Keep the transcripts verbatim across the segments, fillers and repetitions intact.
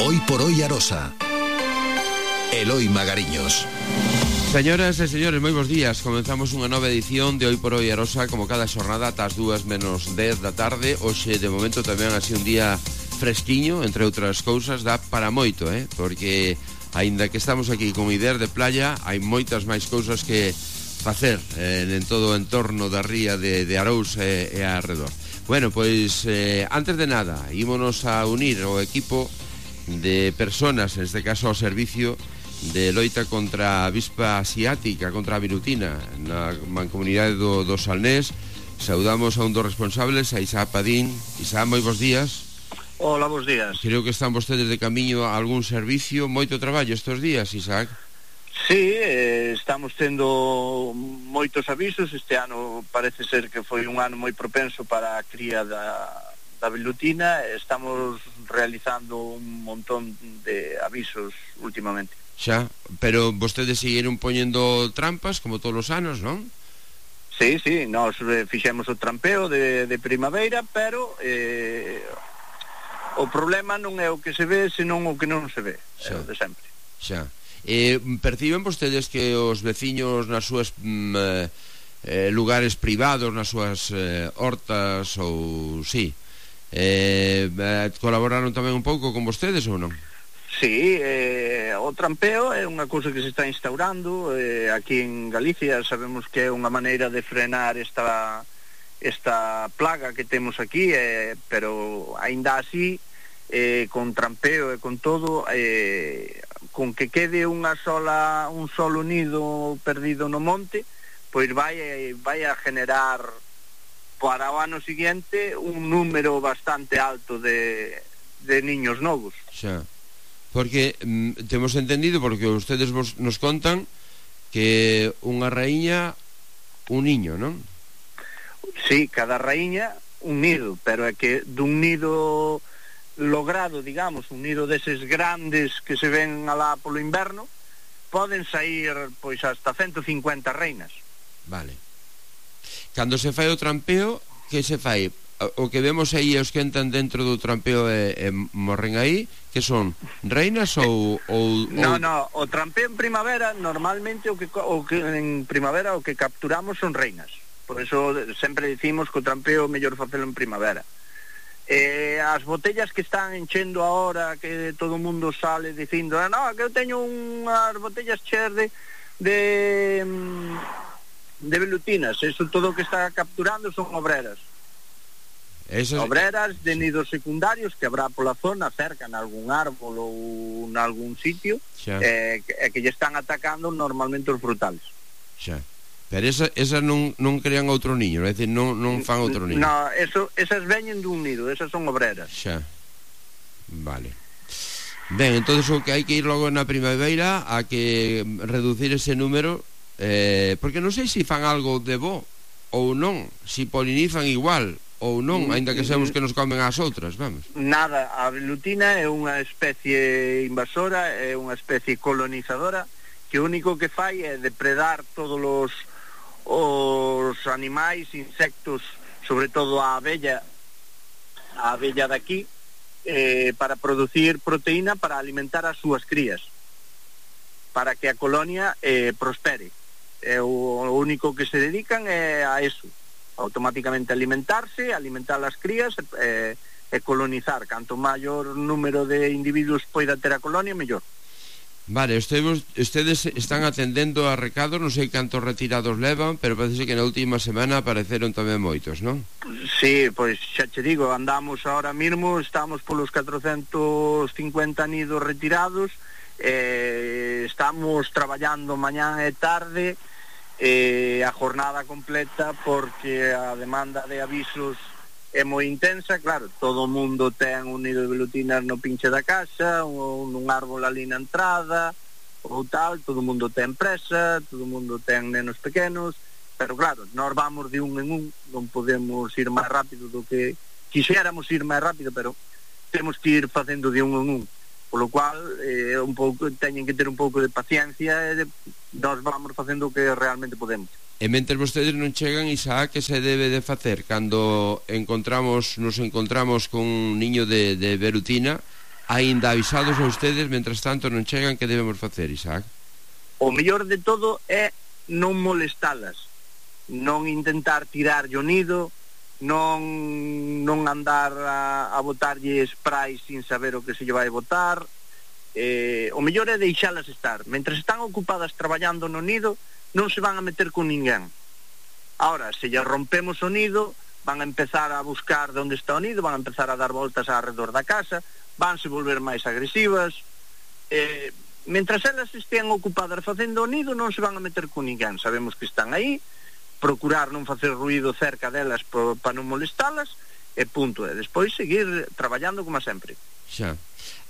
Hoy por hoy Arosa. Eloi Magariños. Señoras e señores, moi bons días. Comenzamos unha nova edición de Hoy por hoy Arosa, como cada xornada ata as dúas menos dez da tarde. Hoxe, de momento, tamén así un día fresquiño, entre outras cousas, dá para moito, eh? Porque, aínda que estamos aquí con ideas de playa, hai moitas máis cousas que facer eh, en todo o entorno da ría de, de Arous e, e arredor. Bueno, pois, eh, antes de nada, ímonos a unir ao equipo de personas, en este caso ao servicio de loita contra a avispa asiática, contra a virutina na mancomunidade do, do Salnés. Saudamos a un dos responsables, a Isaac Padín. Isaac, moi bons días. Hola, bons días. Creo que están vostedes de camiño a algún servicio. Moito traballo estes días, Isaac. Sí, eh, estamos tendo moitos avisos. Este ano parece ser que foi un ano moi propenso para a cría da, da velutina. Estamos realizando un montón de avisos últimamente. Xa, pero vostedes seguiron poñendo trampas como todos os anos, non? Sí, sí, nós eh, fixemos o trampeo de, de primavera, pero eh, o problema non é o que se ve, senón o que non se ve, é o de sempre. Xa. Eh, perciben vostedes que os veciños nas súas mm, eh, lugares privados, nas súas eh, hortas ou sí, eh, eh, colaboraron tamén un pouco con vostedes ou non? Sí, eh, o trampeo é unha cousa que se está instaurando eh, aquí en Galicia. Sabemos que é unha maneira de frenar esta esta plaga que temos aquí, eh, pero aínda así eh, con trampeo e con todo, eh, con que quede unha sola un solo nido perdido no monte, pois vai, vai a generar para o ano siguiente un número bastante alto de, de niños novos. Xa. Porque mm, temos entendido, porque ustedes vos, nos contan que unha raíña, un niño, non? Sí, cada raíña un nido, pero é que dun nido logrado, digamos, un nido deses grandes que se ven alá polo inverno, poden sair pois hasta ciento cincuenta reinas. Vale. Cando se fai o trampeo, que se fai? O que vemos aí os que entran dentro do trampeo e, e morren aí, que son reinas ou, ou, ou... No, no, o trampeo en primavera normalmente o que, o que en primavera o que capturamos son reinas. Por eso sempre dicimos que o trampeo é mellor facelo en primavera. Eh, as botellas que están enchendo ahora, que todo o mundo sale dicindo, ah, no, que eu teño unhas botellas cheas de de, de velutinas, eso todo o que está capturando son obreras. Esas... obreras de nidos secundarios que habrá pola zona, cerca en algún árbol ou en algún sitio, eh, que, que lle están atacando normalmente os frutales. Xa. Pero esa, esa non, non crean outro niño, é dicir, non, non fan outro niño. No, eso, esas veñen dun nido, esas son obreras. Xa. Vale. Ben, entonces o que hai que ir logo na primavera a que reducir ese número, eh, porque non sei se fan algo de bo ou non, se polinizan igual ou non, aínda que sabemos que nos comen as outras, vamos. Nada, a velutina é unha especie invasora, é unha especie colonizadora, que o único que fai é depredar todos os os animais, insectos, sobre todo a abella, a abella daqui, eh, para producir proteína para alimentar as súas crías, para que a colonia eh, prospere. É o único que se dedican é a eso, automáticamente alimentarse, alimentar as crías e, e colonizar. Canto maior número de individuos poida ter a colonia, mellor. Vale, ustedes, ustedes están atendendo a recados, non sei cantos retirados levan, pero parece que na última semana apareceron tamén moitos, non? Sí, pois xa che digo, andamos ahora mismo, estamos polos catrocentos cincuenta nidos retirados, eh, estamos traballando mañán e tarde, eh, a jornada completa, porque a demanda de avisos é moi intensa. Claro, todo o mundo ten un nido de velutinas no pinche da casa, ou nun árbol ali na entrada, ou tal, todo o mundo ten presa, todo o mundo ten nenos pequenos, pero claro, nós vamos de un en un, non podemos ir máis rápido do que quixéramos ir máis rápido, pero temos que ir facendo de un en un, polo cual eh, un pouco, teñen que ter un pouco de paciencia e de, nós vamos facendo o que realmente podemos. E mentre vostedes non chegan, Isaac, que se debe de facer cando encontramos nos encontramos con un niño de, de velutina aínda avisados a ustedes, mentras tanto non chegan, que debemos facer, Isaac? O mellor de todo é non molestalas, non intentar tirar o nido, non non andar a, a botarlle spray sin saber o que se lle vai botar. Eh, o mellor é deixalas estar. Mentre están ocupadas traballando no nido, non se van a meter con ninguén. Ahora, se lle rompemos o nido, van a empezar a buscar onde está o nido, van a empezar a dar voltas alrededor da casa, vanse volver máis agresivas. Eh, mentras elas estean ocupadas facendo o nido, non se van a meter con ninguén. Sabemos que están aí, procurar non facer ruído cerca delas para non molestalas, e punto. E despois seguir traballando como sempre. Xa.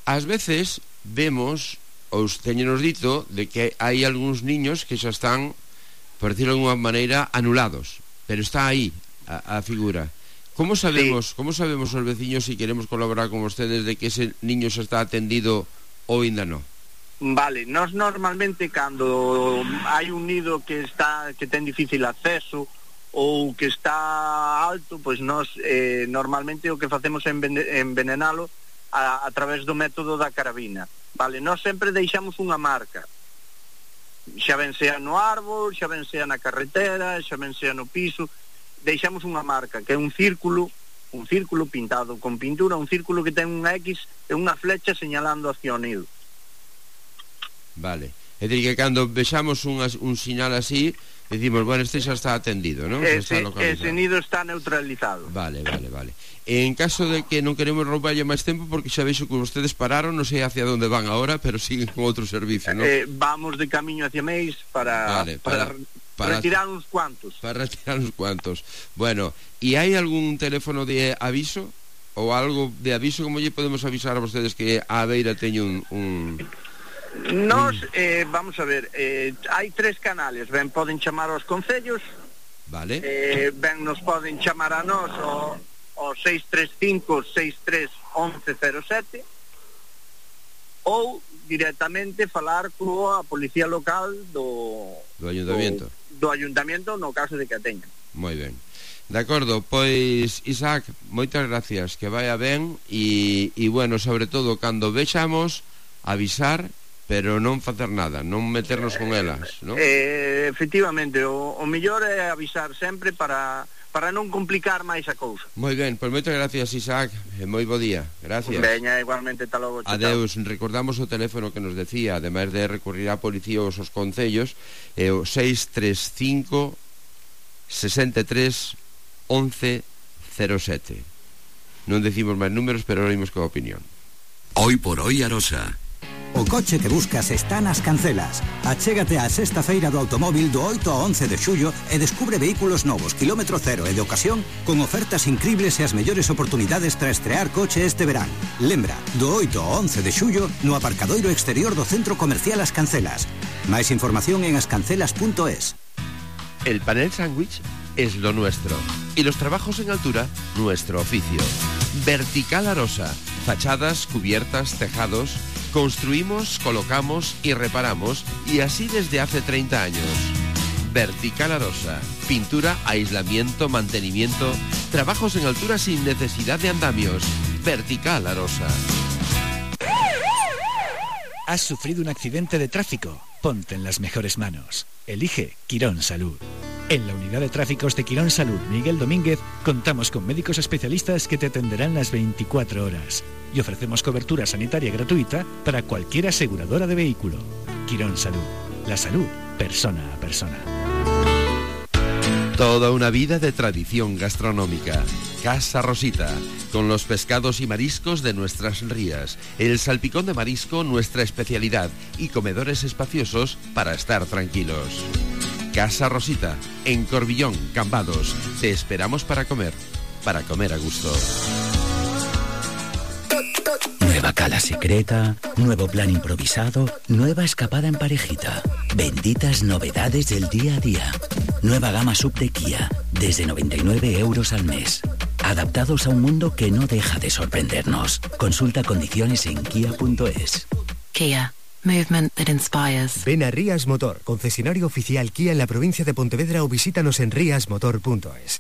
Ás veces vemos, ou teñenos dito, de que hai algúns niños que xa están, por decirlo de alguma maneira, anulados, pero está aí a, a figura. Como sabemos, sí. como sabemos os veciños, si queremos colaborar con vostedes, de que ese niño xa está atendido ou ainda non? Vale, nós normalmente cando hai un nido que está que ten difícil acceso ou que está alto, pois nós eh, normalmente o que facemos é envenenalo a, a través do método da carabina. Vale, nós sempre deixamos unha marca, xa ben sea no árbol, xa ben sea na carretera, xa ben sea no piso, deixamos unha marca que é un círculo, un círculo pintado con pintura, un círculo que ten unha X e unha flecha señalando hacia o nido. Vale, é dicir que cando vexamos un, un sinal así, decimos, bueno, este xa está atendido, non? Ese, ese nido está neutralizado. Vale, vale, vale. En caso de que non queremos roubarlle máis tempo, porque xa veixo que vostedes pararon, non sei hacia onde van agora, pero siguen con outro servicio, non? Eh, vamos de camiño hacia Meis para, vale, para, para, para retirar uns cuantos. Para retirar uns cuantos. Bueno, e hai algún teléfono de aviso? Ou algo de aviso, como lle podemos avisar a vostedes que a beira teño un... un... Nos, eh, vamos a ver, eh, hai tres canales. Ben, poden chamar aos concellos, vale. eh, ben nos poden chamar a nós o, o seis tres cinco, seis tres, once cero sete, ou directamente falar coa policía local do do ayuntamiento do, do ayuntamiento no caso de que a teñan. Moi ben. De acordo, pois Isaac, moitas gracias, que vaya ben, e, e bueno, sobre todo cando vexamos, avisar, pero non facer nada, non meternos con elas, non? Eh, efectivamente, o, o mellor é avisar sempre para, para non complicar máis a cousa. Moi ben, pois moitas gracias, Isaac, e moi bo día. Gracias. Veña, igualmente, tal logo. Adeus, recordamos o teléfono que nos decía, ademais de recurrir á policía ou aos concellos, é o seis tres cinco, sesenta e tres, once cero sete. Non decimos máis números, pero oímos coa opinión. Hoy por hoy Arosa. O coche que buscas está nas Cancelas. Achégate á sexta feira do automóvil do oito ao once de xullo e descubre vehículos novos, kilómetro cero e de ocasión, con ofertas increíbles e as mellores oportunidades para estrear coche este verán. Lembra, do oito ao once de xullo no aparcadoiro exterior do Centro Comercial As Cancelas. Máis información en ascancelas punto es. El panel sándwich es lo nuestro y los trabajos en altura nuestro oficio. Vertical Arosa, fachadas, cubiertas, tejados. Construimos, colocamos y reparamos, y así desde hace treinta años. Vertical Arosa, pintura, aislamiento, mantenimiento, trabajos en altura sin necesidad de andamios. Vertical Arosa. ¿Has sufrido un accidente de tráfico? Ponte en las mejores manos. Elige Quirón Salud. En la unidad de tráficos de Quirón Salud Miguel Domínguez contamos con médicos especialistas que te atenderán las veinticuatro horas y ofrecemos cobertura sanitaria gratuita para cualquier aseguradora de vehículo. Quirón Salud. La salud, persona a persona. Toda una vida de tradición gastronómica. Casa Rosita, con los pescados y mariscos de nuestras rías, el salpicón de marisco, nuestra especialidad, y comedores espaciosos para estar tranquilos. Casa Rosita, en Corbillón, Cambados. Te esperamos para comer, para comer a gusto. Nueva cala secreta, nuevo plan improvisado, nueva escapada en parejita. Benditas novedades del día a día. Nueva gama sub de Kia, desde noventa y nueve euros al mes. Adaptados a un mundo que no deja de sorprendernos. Consulta condiciones en kia punto es. Kia. Movement that inspires. Ven a Rías Motor, concesionario oficial Kia en la provincia de Pontevedra, o visítanos en rías motor punto es.